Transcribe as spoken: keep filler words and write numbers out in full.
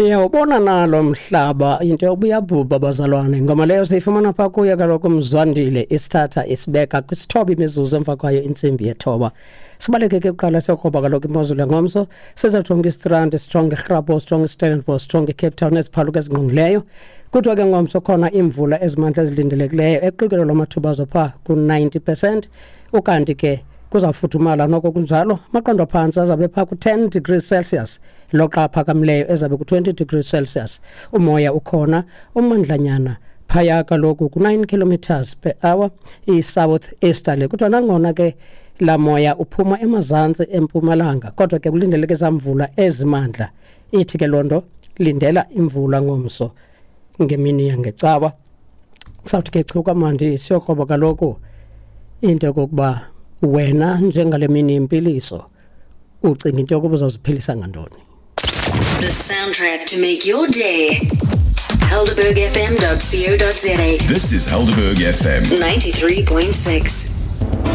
Niyawubona nalo mhlaba into yokuba uyabhubha, bazalwane. Ngoma leyo siyifumana phaa kuye kaloku uMzwandile, isithatha isibeka kwisithoba imizuzu emva kwayo intsimbi yethoba. Sibaleke ke kuqala siyokroba kaloku imozulu yangomso. Sizawujonga iStrand, sijonge iRhapo, sijonge iStellenbosch, sijonge iCape Town neziphaluka ezingqongileyo. Kuthiwa ke ngomso khona iimvula ezimandla ezilindelekileyo eqikelelo lwamathuba azo phaa ku-ninety percent. Ukanti ke kuzawufudumala noko kunjalo, amaqondo aphantsi azabe phaa ku-ten degrees Celsius, loxa aphakamileyo ezabe ku-twenty degrees Celsius. Umoya ukhona umandlanyana phaya kaloku ku-nine kilometers per hour, i-south easterly. Kuthiwa nangona ke laa moya uphuma emazantsi empumalanga, kodwa ke kulindeleke ezaa mvula ezimandla. Ithi ke loo nto lindela imvula ngomso ngemini yangecawa. Sawuthi ke chu kamandi siyokroba kaloku into yokokuba wena njengale mini yempiliso ucinga into yokuba uzawuziphilisa ngantoni. The soundtrack to make your day. Helderberg F M dot co dot za. This is Helderberg F M ninety-three point six.